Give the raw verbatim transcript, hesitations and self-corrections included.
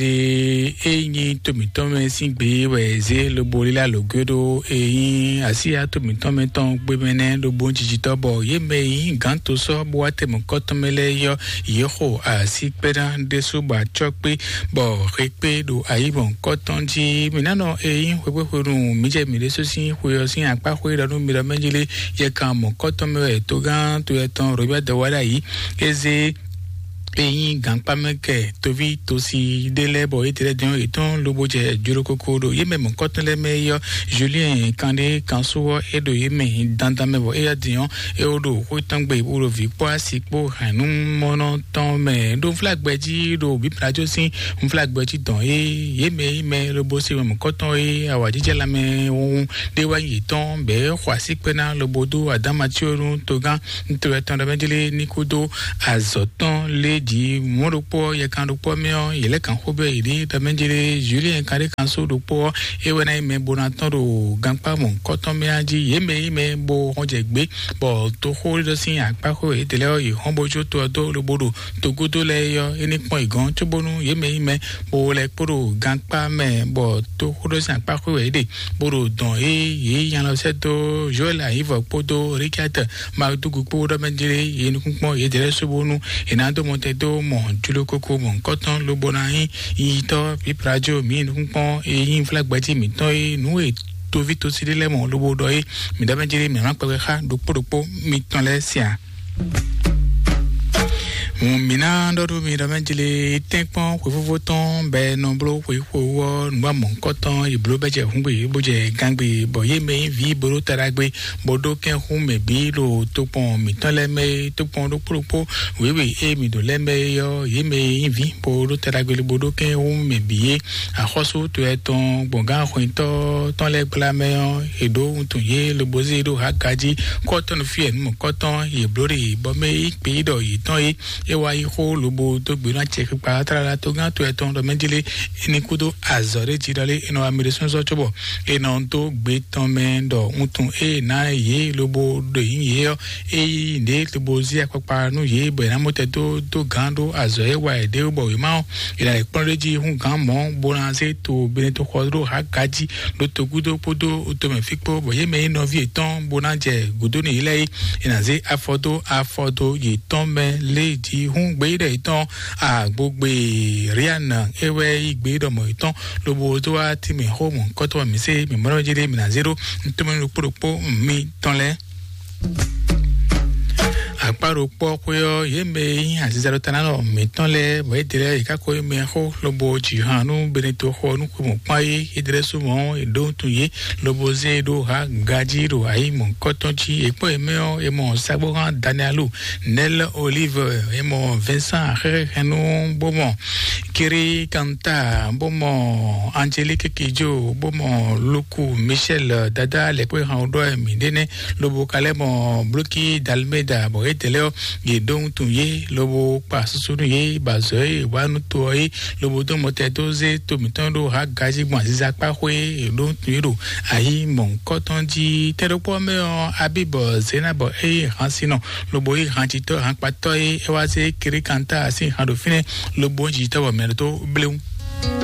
Ɖe e nyí to mǐtɔn mɛ sín gbe wɛ zé lobo lílá lǒgbe ɖó e nyí asíya to mǐtɔn mɛ tɔn gbé mɛ nɛ́ ɖo bó jijitɔ́, bɔ yě mɛ e nyí gǎn to sɔ́ bó wá tɛmɛ kɔ́tɔn mɛ lɛ́ɛ yɔ́, yě xo así kpɛ́ná ɖésú bɔ acɔ́ kpé, bɔ xe kpé ɖo ayǐ mɔ̌hunkɔtɔn jí. Mǐ ná nɔ e nyí xwexwéxwenu mǐ jɛ mǐ ɖésú sín xwe ɔ́ sín akpá xwé ɖɔ nú mi ɖɔ mɛ jí lé, yɛ kan mɔ̌hunkɔtɔn mɛ wɛ togán to yɛtɔn Robert wá ɖ'ayǐ. É zé e nyí gankpámɛkɛ toví tosi ɖé lɛ́ɛ, bɔ é tlɛ dɔn yětɔn lobo jɛ jlokoko ɖo yě mɛ mɔ̌kɔtɔn lɛ́ɛ mɛ é yɔ́. Julien Kandé Kansú ɔ́, é ɖo yě mɛ dandan mɛ, bɔ éyɛ́ din ɔ́, é wó ɖo xwé tɔn gbe bó ɖo vǐ kpó asi kpó hɛ̌nnumɔnɔ tɔn mɛ ɖó nflágbɛ jí ɖo bǐbladzó sín nflágbɛ jí dɔn é yě mɛ yí mɛ lobo se mɛ mɔ̌kɔtɔn é awǎjijɛ lanmɛ wun ɖé wá nyi yětɔn bɛ̌ xɔ así kpɛ́ ná lobo dó adámatíonu togán ntɔ́ tɔn ɖɔ mɛ jlé ní kúdó azɔ̌ tɔn lé jí mɔ̌ ɖokpó ɔ́, yɛkan ɖokpó ɔ́ mɛ ɔ́, yě lɛ́ kǎn xó bɛ́ yě ɖíe ɖɔ mɛ jlé Julien Kandé Kansú ɖokpó ɔ́, é wɛ ná nyí mɛ bó ná tɔn ɖo gankpá mɔ̌hunkɔtɔn mɛ ɔ́ jí. Yě mɛ yí mɛ bó hɔn jɛ gbé, bɔ toxó ɖɔ sín akpá xó yětɛn lɛ́ɛ ɔ́, yě hɔn bó jó to ɔ́ dó lobo ɖo togúdo lɛ́ɛ é ɔ́, é ní kpɔ́n yě gɔ́n, cóbónú yě mɛ yí mɛ bó lɛ́ kpo ɖo gankpá mɛ, bɔ toxó ɖɔ sín akpá xó wɛ yě ɖe, bó ɖo dɔn é yě nyi alɔ sɛ́ dó Joel Ayivɔ kpódó Richard Madugu kpó ɖɔ mɛ jlé yě nukúnkpɔ́n yě dlɛ́ sóbónú è nǎ dó mɔtɛn dó mɔ jló kókó mɔ̌hunkɔtɔn lobo ná nyí yiyitɔ́ píplajo mǐ nukúnkpɔ́n e nyí flágbɛjí mǐtɔn e nǔ e toví tosí ɖé lɛ́ɛ mɔ lobo ɖɔ é mǐ ɖɔ mɛ jlé mǐ má kpɛkpɛ xá ɖokpó ɖokpó mitɔn lɛ́ɛ sian. Mǐ ná ɖɔ ɖó mi ɖɔ mɛ jlé tɛ́nkpɔ́n xwefófó tɔn bɛ nɔ bló xwexwó ɔ́ nǔgbá mɔ̌hunkɔtɔn yi bló bɛ jɛ húngbe bó jɛ gángbe, bɔ yě mɛ nyí vǐ bó ɖó taɖagbe bó ɖó kɛ́n xú mɛ bǐ ɖo tokpɔn mǐtɔn lɛ́ɛ mɛ é, tokpɔn ɖokpó ɖokpó wěwe e mǐ ɖo lɛ́ɛ mɛ é ɔ́, yě mɛ e nyí vǐ bó ɖó taɖagbe bó ɖó kɛ́n xú mɛ bǐ é. Axɔ́sú to etɔn gbɔn gǎn xwintɔ́ tɔn lɛ́ɛ gbla mɛ ɔ́, è ɖǒ wuntun yě lobo zé ɖó Haga jí, kɔ́tɔn fí ɛ nú mɔ̌kɔ́tɔn yě bló ɖe, bɔ mɛ e yí kpeyíɖɔ yětɔn é, é wá yí xó lobo dó gbe nú acɛ kpikpa tlala togán to etɔn ɖɔ mɛ jlé é ní kúdó azɔ̌ ɖé jí ɖɔ lé é nɔ wá mi ɖé sɔ́nsɔ́n cóbɔ è nɔ dó gbe tɔn mɛ ɖɔ wuntun e ná yě lobo ɖo yǐ yě ɔ́, é yí ɖě lobo zí akpakpa nú yě bɔ è nǎ mɔ tɛ dó dó gǎn ɖó azɔ̌ e wa è ɖe bɔ wěma ɔ́, è nǎ lɛ́ kplɔ́n ɖé jí hú gǎn mɔ̌ bó ná zé to Benetoxɔ ɖó Haga jí ɖó togúdo kpódó tomɛ fí kpó, bɔ yě mɛ nyí nɔví yětɔn bó ná jɛ gǔdo nú yě lɛ́ɛ é, è nǎ zé afɔ dó afɔ dó yětɔn mɛ lé jí hú gbeyíɖɔ yětɔn agbogbe Rian é wɛ yí gbeyíɖɔ mɔ̌ yětɔn lobo dó wá tínmɛ xó mɔ̌hunkɔtɔn mǐ se mǐ mɔ ɖɔ jí ɖé mǐ ná zé ɖó ntɔ́mɛ ɖokpó ɖokpó mitɔn lɛ́ɛ. Akpá ɖokpó ɔ́ xwé ɔ́, yě mɛ e nyí azinzɛɖɔtɔ́nánɔ mǐtɔn lɛ́ɛ bɔ é ɖe lɛ́ɛ yě ká ko yí mɛ xó lobo jǐ han nú Benetoxɔ nú xwe mɔ̌kpán é, é ɖe lɛ́ɛ sú mɔ̌ è ɖó wuntun yě lobo zé e ɖó ha gají ɖo ayǐ mɔ̌hunkɔtɔn jí. È kpɔ́n yě mɛ ɔ́, è mɔ sagbóhan Danielu, Nel Olive, è mɔ Vincent Xɛxɛnu, bó mɔ Kiri Kanta, bó mɔ Angelique Kidjo, bó mɔ Luku Michel, dada lɛkpé han ɖɔ mǐ ɖe nɛ́, lobo ka lɛ́ mɔ Bloki Dalmeda, bɔ yě ɖe lɛ́ ɔ́, yě ɖó wuntun yě, lobo kpa susu nú yě, ba zɔ yě wá nú to ɔ́ yé, lobo dó mɔtɛ dó zé to mǐtɔn ɖó ha gají gbɔn aziza kpá xwé, yě ɖó wuntun yě ɖo ayǐ mɔ̌hunkɔtɔn jí. Tɛ́ ɖokpó ɔ́ mɛ ɔ́, Abib Zenab eye han sinɔ, lobo yí han jitɔ́ han kpatɔ́ yé, é wá zé Kiri Kanta sín han ɖo fínɛ́, lobo jitɔ́ bɔ mɛ ɖo tó bléwu.